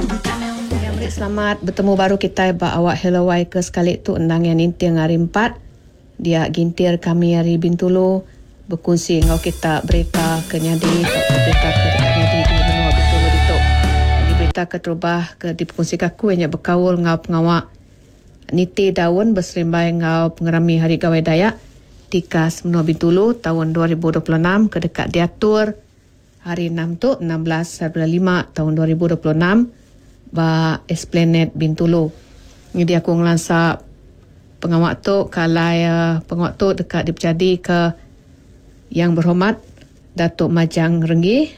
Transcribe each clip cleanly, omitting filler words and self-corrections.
Ya, meri selamat betemu baru kitai ba awak Hello Wai ke sekali tu endang iya ninting hari empat. Dia gintir kami ari Bintulu bekunsi enggau kita berita ke nyadi tauka berita ke deka nyadi di menua Bintulu ditu. Nyadi berita keterubah ke dipekunsika aku iya nya bekaul enggau pengawa Niti daun beserimbai enggau pengerami Hari Gawai Dayak tikas menua Bintulu taun 2026 ke deka diatur Hari Enam tu, 16 hari bulan lima taun 2026 ba Esplanade Bintulu. Nyadi aku ngelansa pengawa tu ke alai pengawa tu deka dipejadika Yang Berhormat Datuk Majang Renggi,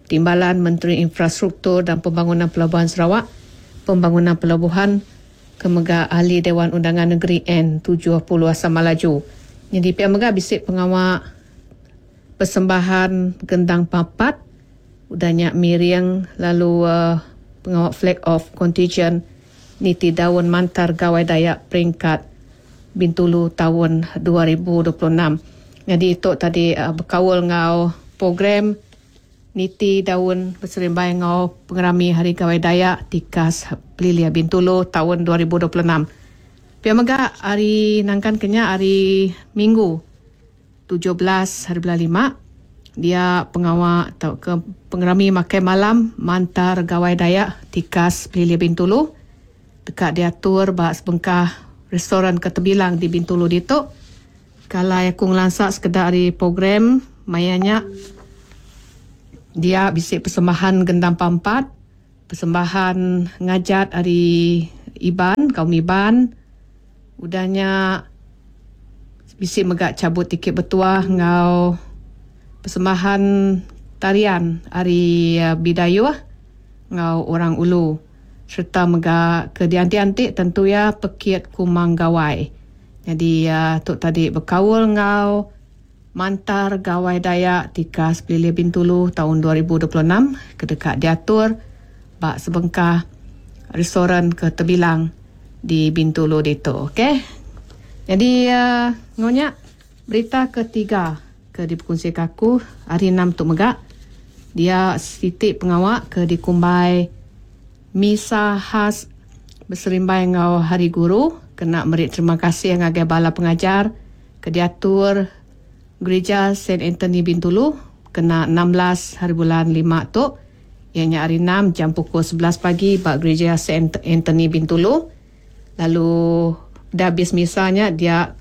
Timbalan Menteri Infrastruktur dan Pembangunan Pelabuhan Sarawak, Pembangunan Pelabuhan, ke mega Ahli Dewan Undangan Negeri N 70 Samalaju. Nyadi pia mega bisi pengawa persembahan gendang papat, udah nya miring lalu pengawa flag off kontijen niti daun mantar Gawai Dayak peringkat Bintulu taun 2026. Nyadi tu tadi bekaul enggau program Niti daun beserimbai enggau pengerami Hari Gawai Dayak tikas Pelilih Bintulu taun 2026. Pia mega hari nangkan ke nya hari Minggu 17 hari bulan lima dia pengawa tauka pengerami makai malam mantar Gawai Dayak tikas Pelilih Bintulu deka diatur ba sebengkah restoran ke tebilang di Bintulu ditu. Kalai aku ngelansa sekeda ari program maya nya dia bisi persembahan gendang pampat, persembahan ngajat ari Iban, kaum Iban. Udah nya bisi mega chabut tiket betuah enggau persembahan tarian ari Bidayuh enggau Orang Ulu sereta mega ke dianti-anti tentu iya pekit Kumang Gawai. Nyadi tu tadi bekaul enggau Mantar Gawai Dayak tikas Pelilih Bintulu taun 2026 ke deka diatur ba sebengkah restoran ke tebilang di Bintulu ditu. Okey. Nyadi enggau nya berita ketiga ke dipekunsika aku hari enam tu mega dia siti pengawa ke dikumbai Misa khas beserimbai enggau Hari Guru kena meri terima kasih ngagai bala pengajar ke diatur Gerija Saint Anthony Bintulu kena 16 haribulan lima tu iya nya hari enam jam pukul 11 pagi ba Gerija Saint Anthony Bintulu lalu udah abis misa nya dia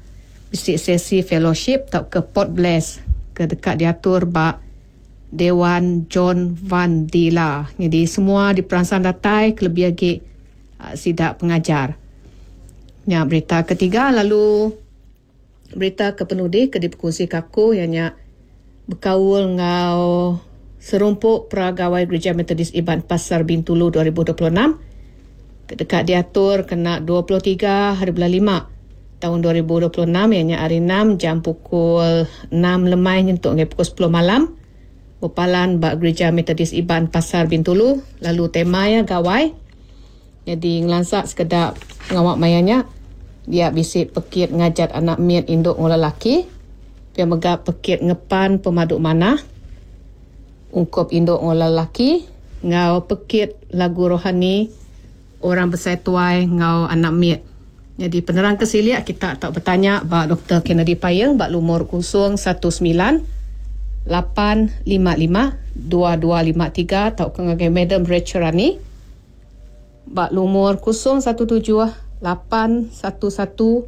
bisi sesi fellowship tauka pot bless ke deka diatur ba Dewan John Van Dila. Nyadi semua diperansang datai kelebih agi sida pengajar. Nya berita ketiga lalu berita ke penudi ke dipekunsika aku iya nya bekaul enggau Serumpu Pra Gawai Gerija Methodist Iban Pasar Bintulu 2026 ke deka diatur kena 23 hari bulan lima taun 2026 iya nya hari enam jam pukul enam lemai nyentuk ngagai pukul sepuluh malam bepalan ba Gerija Methodist Iban Pasar Bintulu lalu tema iya Gawai. Nyadi ngelansa sekeda pengawa maya nya dia bisi pekit ngajat anak mit indu enggau lelaki pia mega pekit ngepan pemadu manah ungkup indu enggau lelaki enggau pekit lagu rohani orang besai tuai enggau anak mit. Nyadi penerang ke silik kita tau betanya ba Doktor Kennedy Paing ba lumur 019 855 2253 tauka ngagai Madam Rachel Rani ba lumur 017 811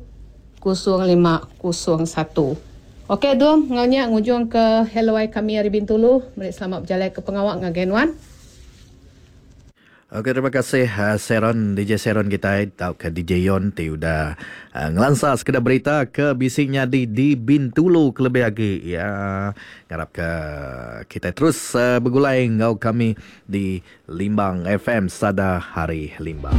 0501. Ok Dum, enggau nya ngujung ke Hello Ai kami ari Bintulu meri selamat bejalai ke pengawa ngagai nuan. Ok terima kasih Sharon DJ Sharon kitai tauka DJ Yon ti udah ngelansa sekeda berita ke bisi nyadi di Bintulu kelebih agi ya ngarap ke kitai terus begulai enggau kami di Limbang FM Sada Hari Limbang.